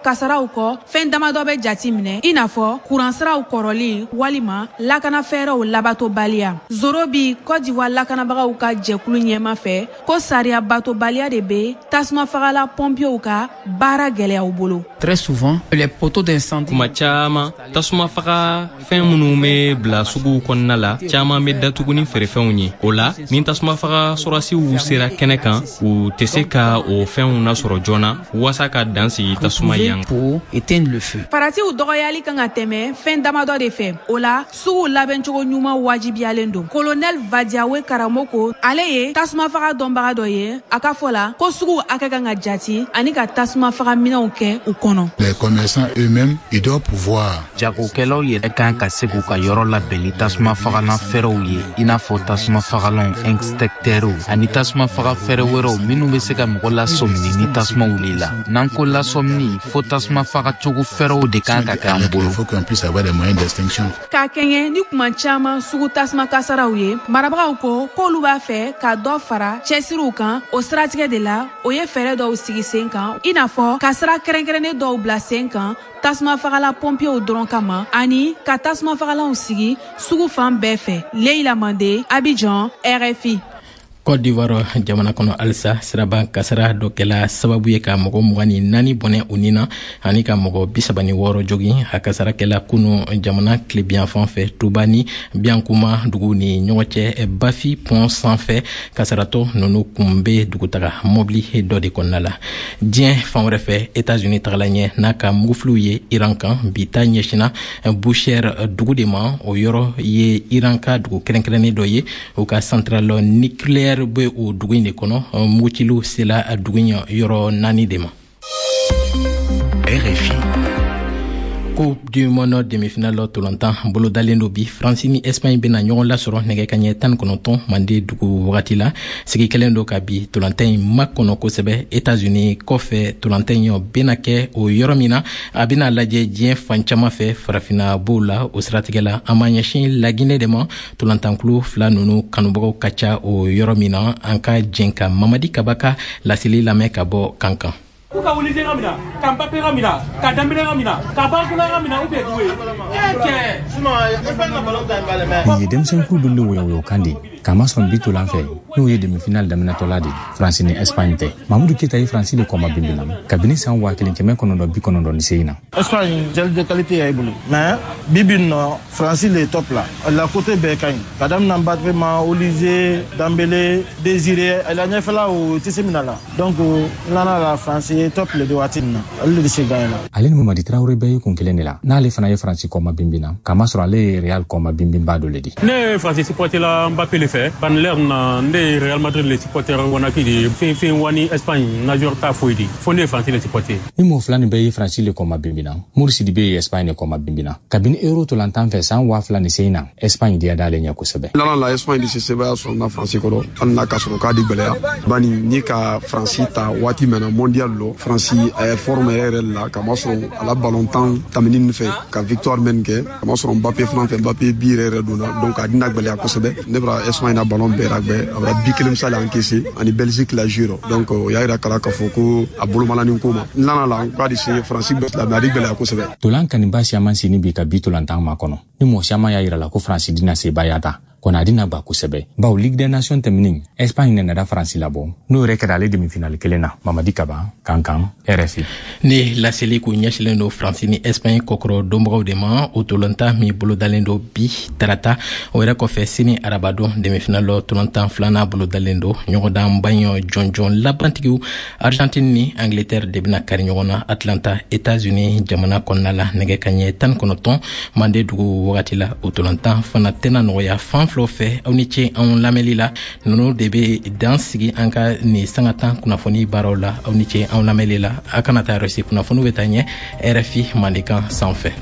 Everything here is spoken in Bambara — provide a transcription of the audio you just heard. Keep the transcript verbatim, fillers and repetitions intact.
Kasaraw kɔ, fɛn damadɔ bɛ jati minɛ, i n'a fɔ kuransiraw kɔrɔlen walima lakanafɛɛrɛw labatobaliya. Zoro bi Côte d'Ivoire lakanabagaw ka jɛkulu ɲɛma fɛ ko sariya batobaliya de bɛ tasuma fagala pɔnpiyew ka baara gɛlɛya u bolo. Très souvent, les poteaux d'incendie. Kuma caman, tasuma faga fɛn minnu bɛ bila suguw kɔnɔna la, caman bɛ datugu ni feerefɛnw ye. O la, ni tasuma faga sɔrɔdasiw sera kɛnɛ kan, u tɛ se ka o fɛnw nasɔrɔ joona waasa ka dan sigi tasuma yan. Pour éteindre le feu. Faratiw dɔgɔyali kan ka tɛmɛ fɛn damadɔ de fɛ. O la, sugu labɛncogo ɲuman wajibiyalen don. Colonel Vadiawe Karamoko, ale ye tasuma faga dɔnbaga dɔ ye. A ka fɔ la ko sugu hakɛ kan ka jati ani ka tasuma faga minɛnw kɛ u kɔnɔ. Les commerçants eux-mêmes, ils doivent pouvoir. Jagokɛlaw yɛrɛ kan ka se k'u ka yɔrɔ labɛn ni tasuma fagalan fɛɛrɛw ye, i n'a fɔ tasuma fagalanw, extincteurs ani tasuma faga fɛɛrɛ wɛrɛw minnu bɛ se ka mɔgɔ lasɔmini ni tasuma wulila. N'an ko lasɔmini, fo tasuma faga cogo fɛɛrɛw de kan ka kɛ an bolo. Il faut qu'on puisse avoir des moyens d'extinction. K'a kɛɲɛ ni kuma caman sugu tasuma kasaraw ye, marabagaw ko k'olu b'a fɛ ka dɔ fara cɛsiriw kan o siratigɛ de la. O ye fɛɛrɛ dɔw sigi sen kan, i n'a fɔ ka sira kɛrɛnkɛrɛnnen dɔw bila sen kan tasuma fagala pɔnpiyew dɔrɔn kama, ani ka tasuma fagalanw sigi sugu fan bɛɛ fɛ. Leila Mande, Abidjan, R F I. Côte d'Ivoire jamana kɔnɔ halisa, siraba kasara dɔ kɛla sababu ye ka mɔgɔ mugan ni naani bɔnɛ u ni na ani ka mɔgɔ bisaba ni wɔɔrɔ jogin. A kasara kɛla kunu jamana tilebiyanfan fɛ, Tuba ni Biyankuma dugu ni ɲɔgɔn cɛ, Bafi pont sanfɛ. Kasaratɔ nunu kun be dugutaga mɔbili dɔ de kɔnɔna la. Diɲɛ fan wɛrɛ fɛ, Etats-Unis tagala ɲɛ n'a ka mugufiliw ye Iran kan. Bi ta ɲɛsina Bushehr dugu de ma. O yɔrɔ ye Iran ka dugu kɛrɛnkɛrɛnnen dɔ ye, u ka centrale nucléaire bɛ o dugu in de kɔnɔ. Mugutiliw sela dugu in yɔrɔ naani de ma. R F I. Coupe du monde demi-finale tolantan bolodalen do bi. Faransi ni Espagne bena ɲɔgɔn lasɔrɔ nɛgɛ kaɲɛ tan kɔnɔntɔn mande dugu wagati la. Sigi kɛlen do ka bi tolantan in makɔnɔ kosɛbɛ Etats-Unis kɔfɛ. Tolantan in bena kɛ o yɔrɔ min na, a bena lajɛ diɲɛ fan caman fɛ, Farafina b'o la. O siratigɛ la, an b'an ɲɛsin Laginɛ de ma, tolantankulu fila nunu kanubagaw ka ca o yɔrɔ min na. An ka jɛn ka Mamadi Kaba ka laseli lamɛn ka bɔ Kankan. K'u ka Olise ka mina, ka Mbappé ka mina, ka Dembélé ka mina, ka Barcola ka mina ou bien Doué. E cɛ. Nin ye denmisɛnkuru dun de woyowoyokan de kamasɔrɔ bi tolan fɛ, n'o ye demi-finale daminɛtɔla de, Faransi ni Espagne tɛ. Mamudu Keyita ye Faransi de kɔma binbina kabini san waa kelen kɛmɛ kɔnɔntɔn bi kɔnɔntɔn ni segin na. Espagne, joueur de qualité y'a bolo, mais bi bi nɔ, Faransi le top la. La côté bɛɛ ka ɲi ka daminɛ Mbappé ma, Olise, Dembélé, Désiré, la ɲɛfɛla o tɛ se mina la. Donc n nana la, Faransi ye top le de waati nin na, ale de bɛ se gagner la. Ale ni Mamadi Tarawele bɛɛ ye kun kelen de la, n'ale fana ye Faransi kɔma binbina, kamasɔrɔ ale ye Real kɔma binbinba dɔ le di. Ne ye Faransi supporter la Mbappé le fɛ. Ban l'heure na, ne ye Real Madrid le supporter wanaki de fɛn fɛn wani Espagne na joueur ta foyi di. Fo ne ye Faransi le supporter. Ni mɔgɔ fila nin bɛɛ ye Faransi le kɔma binbina, Mori Sidibe ye Espagne le kɔma binbina kabini Euro tolantan fɛ san waa fila ni segin na. Espagne diya d'ale ɲɛ kosɛbɛ. Lala la, Espagne de se sebaya sɔrɔ na Faransi kɔrɔ, hali n'a ka sɔrɔ k'a di gwɛlɛya, bani ni ka Faransi ta waati mɛn na mondial lɔ, Faransi a ye forme yɛrɛ yɛrɛ la, kamasɔrɔ a la ballontan tamini nin fɛ ka victoire mɛn kɛ, kamasɔrɔ Mbappé fana fɛ, Mbappé bi yɛrɛ yɛrɛ donna, donc a dina gwɛlɛya kosɛbɛ. Ne bara Espagne na ballon bɛɛ ragbɛ, a bara bi kelen misali encaissé ani Belgique la jeu rɔ, donc o y'a yira kala k'a fɔ ko a bolomalanin ko ma n nana la k'a di se Faransi bɛ la, mais a di gwɛlɛya kosɛbɛ. Tolan kaniba siaman sini bi ka bi tolantan ma kɔnɔ ni mɔgɔ siaman y'a yira la ko Faransi dina sebaya ta kɔni, a dina gba kosɛbɛ, bawo Ligue des Nations tɛmɛnin, Espagne nana Faransi labɔ, n'o yɛrɛ kɛra ale demi-finale kelen na. Mamadi Kaba, Kankan, R F I. Ni laseli kun ɲɛsilen do Faransi ni Espagne kɔkɔrɔ donbagaw de ma, o tolantan min bolodalen do bi tarata. O yɛrɛ kɔfɛ, sini arabadon, demi-finale tolantan filanan bolodalen do. Ɲɔgɔndan baɲɔ jɔnjɔn labantigiw Argentine ni Angleterre de bɛna kari ɲɔgɔn na Atlanta, États-Unis jamana kɔnɔna la, nɛgɛ kaɲɛ tan kɔnɔntɔn mande dugu wagati la. O tolantan fana tɛna nɔgɔya fan filaw fɛ. Aw ni ce anw lamɛnli la. Ninnu de bɛ dan sigi an ka nin sanga tan kunnafoni baaraw la. Aw ni ce anw lamɛnli la. A kana taa yɔrɔ si, kunnafoniw bɛ taa ɲɛ R F I Mandenkan sanfɛ.